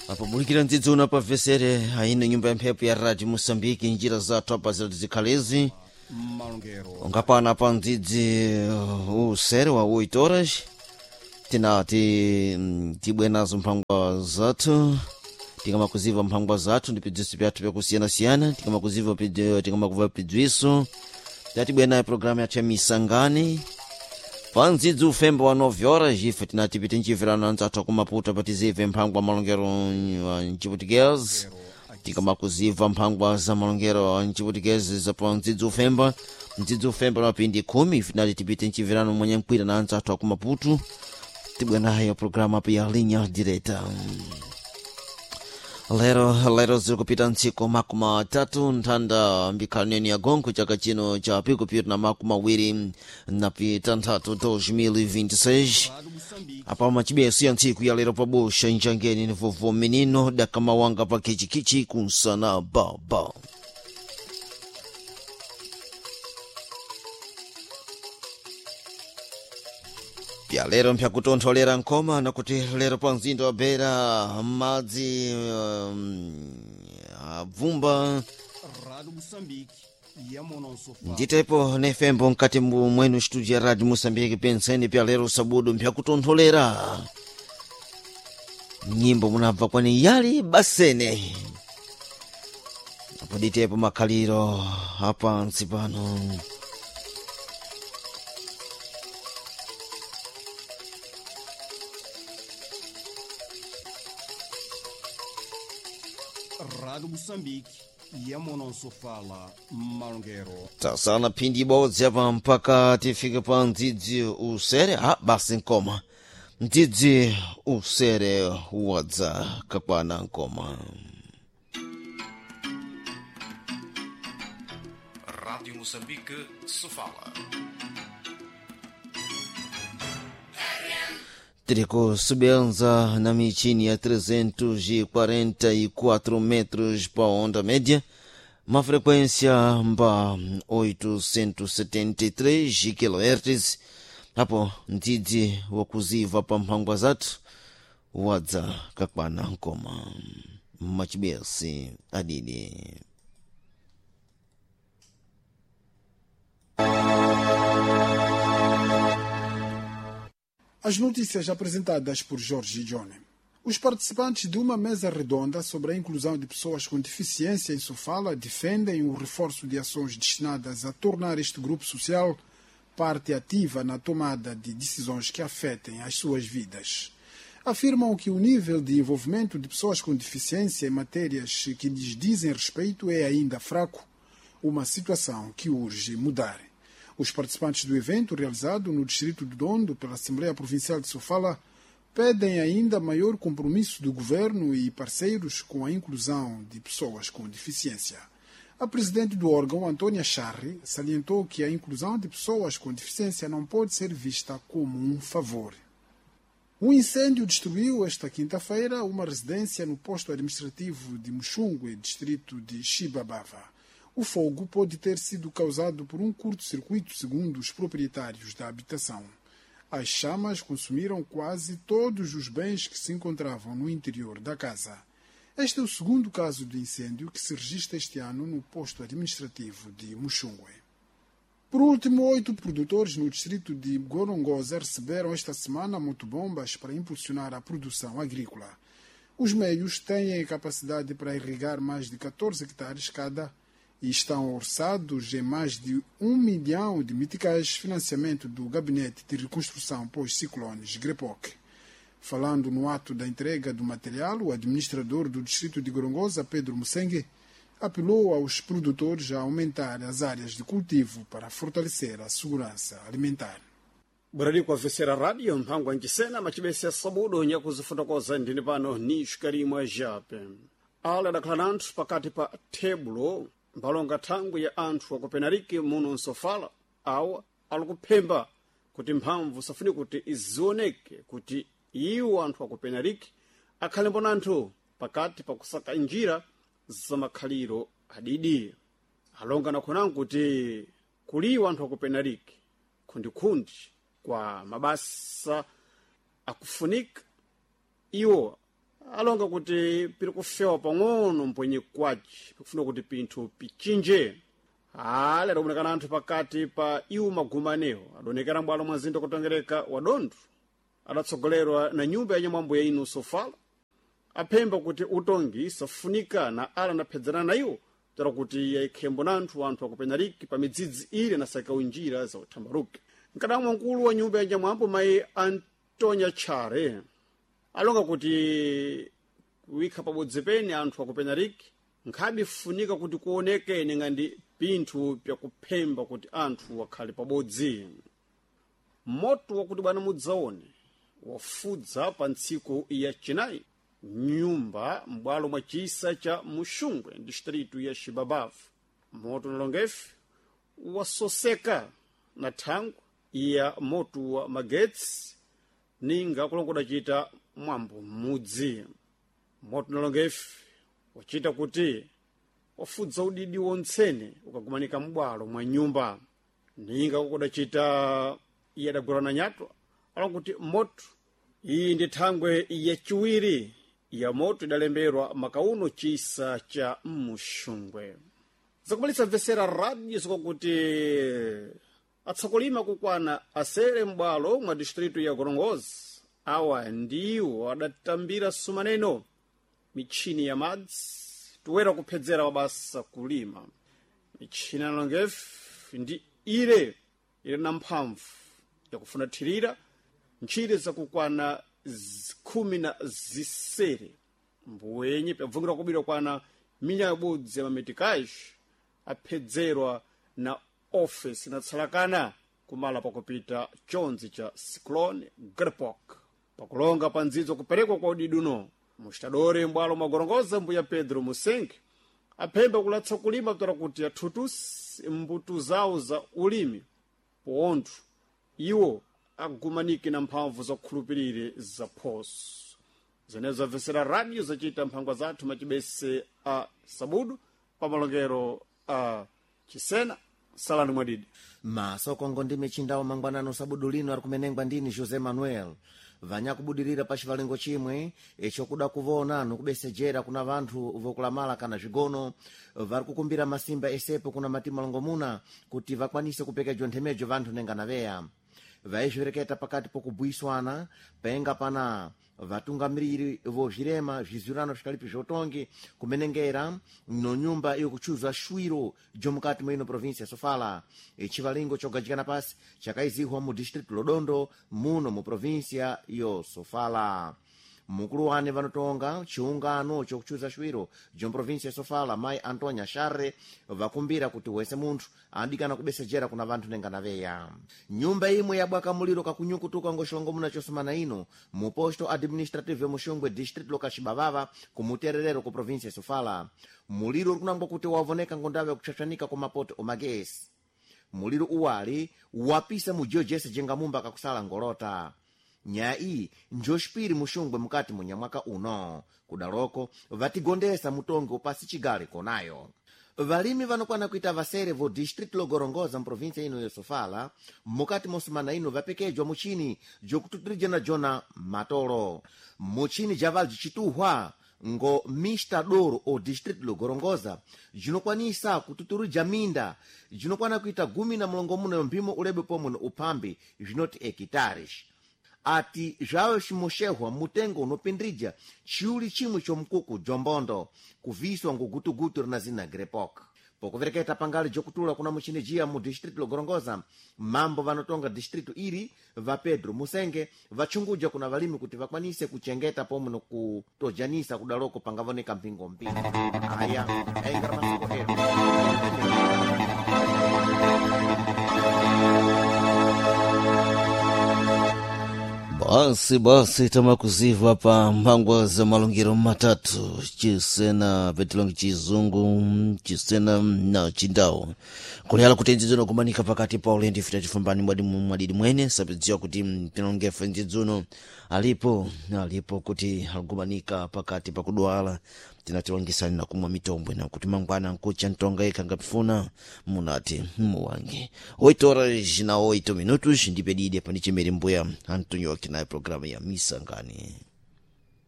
Apabulikira ndzidzuna pa vesere aino nyumba ya mphepo ya Radio Moçambique, njira zathu apa zirati zikhalezi Malongero. Ungapana pa ndzidzi usere wa 8 horas tinati tibwe nazo mphangwa zathu, tikamakuziva mphangwa zathu ndi pidziso pyathu pyakusiyanasiyana, tikamakuziva tikamakuva pidziso tatibwe nayo programu yathu ya misangani pa ndzidzi ufembo wa 9 horas. Ife tinati pite nchimvirano anzathu akumaputa patizive mphangwa malongero wa mchiputikezi, tikamakuziva mphangwa za malongero a mchiputikezi za pa ndzidzi ufemba, ndzidzi ufemba na mapindi 10. Ife tinati tipite nchimvirano mwanyankwira na anzathu akumaputu, tibwe nayo programu apo ya Linha Direta. Lero lero ziri kupita ntsiku 30 nthanda mbikhalaneni ya gongo chaka chino cha pikupita na 26 2026. Rádio Moçambique. Apa machibeso ya ntsiku ya lero pabosha njangeni ni vovo menino dakamawanga pa kichikichi kunsana baba. Pya lero mpyakutontholera nkoma nakuti lero pa mzinda wa Beira madzi abvumba. Rádio Moçambique. Yamonosofa. Nditepo nefembo mkati mwenu studio ya Radio Moçambique, penseni pya lero sabudu mpyakutontholera nyimbo munabva kwani yali basene apo ditepo makhaliro apansi pano. Rádio Moçambique. Yamonosofala. Malongero. Tasala phindi ibodzi apa mpaka tifike pa mdzidzi usere. Ha basi nkoma mdzidzi usere wadza kakwana nkoma. Rádio Moçambique, Sofala. Tiri kusubenza na michini ya 344 metros pa onda média, uma frequência mba 873 kHz. Apo mdzidzi wakuziva pa mphangwa zathu wadza kakwana nkoma machibesi adidi. As notícias apresentadas por Jorge Johnny. Os participantes de uma mesa redonda sobre a inclusão de pessoas com deficiência em Sofala defendem o reforço de ações destinadas a tornar este grupo social parte ativa na tomada de decisões que afetem as suas vidas. Afirmam que o nível de envolvimento de pessoas com deficiência em matérias que lhes dizem respeito é ainda fraco, uma situação que urge mudar. Os participantes do evento, realizado no distrito de Dondo pela Assembleia Provincial de Sofala, pedem ainda maior compromisso do governo e parceiros com a inclusão de pessoas com deficiência. A presidente do órgão, Antônia Charri, salientou que a inclusão de pessoas com deficiência não pode ser vista como um favor. Um incêndio destruiu esta quinta-feira uma residência no posto administrativo de Muxungue, distrito de Chibabava. O fogo pode ter sido causado por um curto-circuito, segundo os proprietários da habitação. As chamas consumiram quase todos os bens que se encontravam no interior da casa. Este é o segundo caso de incêndio que se registra este ano no posto administrativo de Muxungue. Por último, 8 produtores no distrito de Gorongosa receberam esta semana motobombas para impulsionar a produção agrícola. Os meios têm a capacidade para irrigar mais de 14 hectares cada e estão orçados em mais de 1 milhão de meticais, financiamento do Gabinete de Reconstrução pós-Ciclones GREPOC. Falando no ato da entrega do material, o administrador do distrito de Gorongosa, Pedro Mussengue, apelou aos produtores a aumentar as áreas de cultivo para fortalecer a segurança alimentar. Burali kwa vesera radio mphango ancisena macibese sabudo nyakuzifotokoza ndini pano ni xikalimwa jape ala adakhala nanthu pakati pa tebulo mpalonga thangwi ya anthu akupenariki muno nsofala awa alikuphemba kuti mphamvu safuni kuti izioneke kuti iwo anthu akupenariki akhale mbona anthu pakati pakusaka njira za makhaliro adidi. Alonga nakhonango kuti kuliwa anthu akupenariki khundikhundi kwa mabasa akufunika iwo Alonga kuti piri kufewa pang'ono mpwenye kwaci pikufuna kuti pinthu pichinje. Ale adaonekana anthu pakati pa iwo magumanewo adaonekera mbwalo mwa mzinda kutongereka wa Dondo, adatsogolerwa na nyumba ya nyamwambo ya inu Sofala, aphemba kuti utongi safunika na ala anaphedzana na iwo tera kuti yayikhembo na anthu anthu akupenariki pa midzidzi ile nasakawo njira za uthambaruke. Mkadamwa mkulu wa nyumba ya nyamwambo mayi Antonia Chare alonga kuti kuwikha pabodzi pene anthu akupenariki nkhabe funika kuti kuoneke ngandi pinthu pyakuphemba kuti anthu akhale pabodzi. Moto wakuti bwana mudzaone wafudza pa ntsiku ya chinayi nyumba m'bwalo mwa chisa cha Muxungwe, distritu ya Xibabavu. Moto nalongefe wasoseka na thangwi ya moto wa magetsi ninga kulongoda chita mwambo m'mudzi. Moto nalongefe wachita kuti wafudza udidi wontsene ukagumanika m'bwalo mwa nyumba ninga kukudacita iye adagwirana nyatwa. Alonga kuti moto iyi ndi thangwe yaciwiri ya moto idalemberwa makauno chisa cha Muxungwe. Zakumalitsa mvesera radio zikakuti atsakulima kukwana asere m'bwalo mwa distritu ya Gorongozi awa ndiwo adatambira sumaneno michini ya madzi toera kuphedzera wabasa kulima. Michini analongefe ndi ile ili na mphamvu yakufuna thirira ntchire zakukwana 16 mbuwenye pyabvungira kubira kwana minya yabodzi ya mametikaji aphedzerwa na ofesi inatsalakana kumala pakupita chonzi cha Cyclone Grepok. Pakulonga pa ndzidzo kuperekwa kwa udiduno muxitadore mbwalo mwagorongoza mbuya Pedro Musenge aphemba kulatsa kulima kutora kuti athutusi mbuto zawo za ulimi pontho iwo agumanike na mphamvu zakukhulupirire za phoso zenezo. Zamvesera radio zacita mphangwa zathu macibese a sabudu pa malongero a Chisena. Salani mwadidi. Masokongo ndi michindawo mangwanano sabudu lino ari kumenengwa ndini José Manuel. Vanyakubudirira pa chivalengo chimwe icho kuda kuvona nokubesejera kuna vanthu vokulamala kana zvigono vari kukumbira masimba esepo kuna mati malongomuna kuti vakwanise kupekejwa nthemejo vanthu nenga naveya. Vaizvireketa pakati pokubhuiswana penga pana vatungamiriri vozvirema zvizwirano zvikalipi zvotongi kumenengera no nyumba yokuchuzwa shwiro jomukati mwino provinsia ya Sofala. Chivalingo chogajikana pasi chakaizihwa mu distritu Lodondo muno mu provinsia yo Sofala. Mukulu wane vanotonga chiungano chokuchuza shwiro jomprovinsia ya Sofala mayi Antonia Sharre vakumbira kuti wese munthu adikana kubesejera kuna vanthu nenga naveya. Nyumba imwe yabwaka muliro kakunyukutuka ngoxilongomuna chosumana ino mu posto administrative Muxungwe, distrito lokacibavava kumutererero ku provinsia ya Sofala. Muliro uri kunangwa kuti wavoneka ngondava yakuchachwanika kwa mapoto omagesi. Muliro uwali wapisa mujiyo jese jengamumba kakusala ngolota. Nyaya iyi njoxipiri muxungwe mukati munyamwaka uno. Kudaloko vatigondesa mutongi upasi chigale konayo. Valimi vanokwana kuita vasere vo distrito logorongoza mprovinsia ino ya Sofala mukati mosumana ino vapekejwa muchini jokututirijana jona matolo. Muchini javali jicituhwa ngo Mr Doro o distrito logorongoza jinokwanisa kututurija minda jinokwana kuita 16 yo mphimo ulebe pomwe no uphambi zvinoti hekitares. Ati zvawe ximoxehwa mutengo unopindrija chiuli chimwe chomkuku jombondo kuviswa ngugutugutu rina zina Grepok. Pokuvereketa pangali jokutula kuna muchini jiya mu distritu logorongoza, mambo vanotonga distritu iri va Pedro Musenge vachunguja kuna valimi kuti vakwanise kuchengeta pomwe nokutojanisa kudaloko pangavoneka mpingo mpingo. Aya aingara masoko edu. Basi basi tamakuziva pa mphangwa za malongero matatu, Chisena petilongi, Chizungu, Chisena na Chindau, kuleyala kuti ndzidzuno kumanika pakati pa ulendi fita tifumbani mwadi mwadidi mwene sapidziwa kuti pinongefe ndzidzuno alipo alipo kuti alikumanika pakati pakudwala tinatilongisani na kumwa mitombo na kuti mangwana nkucha ntonga ikha ngapifuna munati muwange. 8 horas na 8 minutos ndipedide pandichemere mbuya Antonio Akinaye programu ya Misangani.